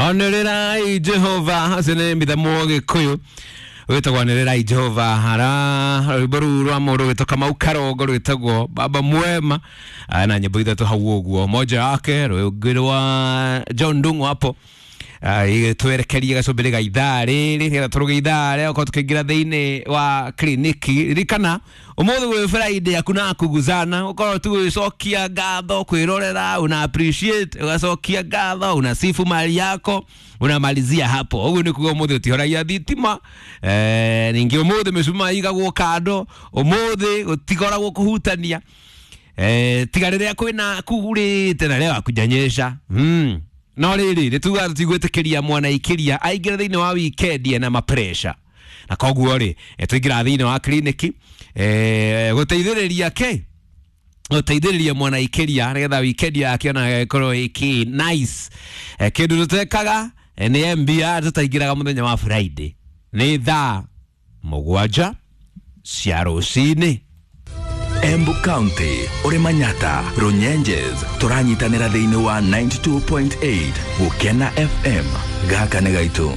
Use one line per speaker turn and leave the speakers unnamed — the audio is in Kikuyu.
Onĩrĩrai Jehova, acio nĩ mĩthemwa Gĩkũyũ wĩtagwo Anĩrĩrai Jehova, hara rwĩmbo rũu rwa mũndũ wĩtwo Kamau Karongo rwĩtagwo Baba Mwema. Ah, na nyĩmbo ithatũ hau ũguo, moja yake rũngĩ rwa John Ndung'u hapo. Ah, twerekerie gacumbĩrĩ ga ithaa rĩrĩ nĩgetha tũrũge ithaa rĩa gũkorwo tũkĩingĩra thĩinĩ wa kliniki. Ririkana ũmũthĩ gwĩ Friday hakuna kuguzana, ũkorwo tu gwĩcokia ngatho, kwĩrorera, una appreciate, ũgacokia ngatho, unasifu mali yako, unamalizia hapo. Ũguo nĩ kuga ũmũthĩ ũtihoragia thitima, eh, ningĩ ũmũthĩ mĩcumaa igagwo kando, ũmũthĩ gũtikoragwo kũhutania, eh, tiga rĩrĩa kwĩna kurĩte na rĩrĩa wakujanyesha. No rĩrĩ nĩtugaga tũtigwĩtĩkĩria mwanaikĩria aingĩre thĩinĩ wa weekend ena mapresha, na koguo rĩ, tũingĩraga thĩinĩ wa kliniki, gũteithĩrĩria kĩ gũteithĩrĩria mwanaikĩria nĩgetha weekend yake ona ĩkorwo ĩkĩ nice. Kĩndũ tũtekaga, nĩ MBR tũtaingĩraga mũthenya wa Friday nĩ thaa 7 cia rũcinĩ.
Embu County, ũrĩ Manyata, Runyenjes, tũranyitanĩra thĩinĩ wa 92.8 Gũkena FM. Gaka nĩ gaitũ.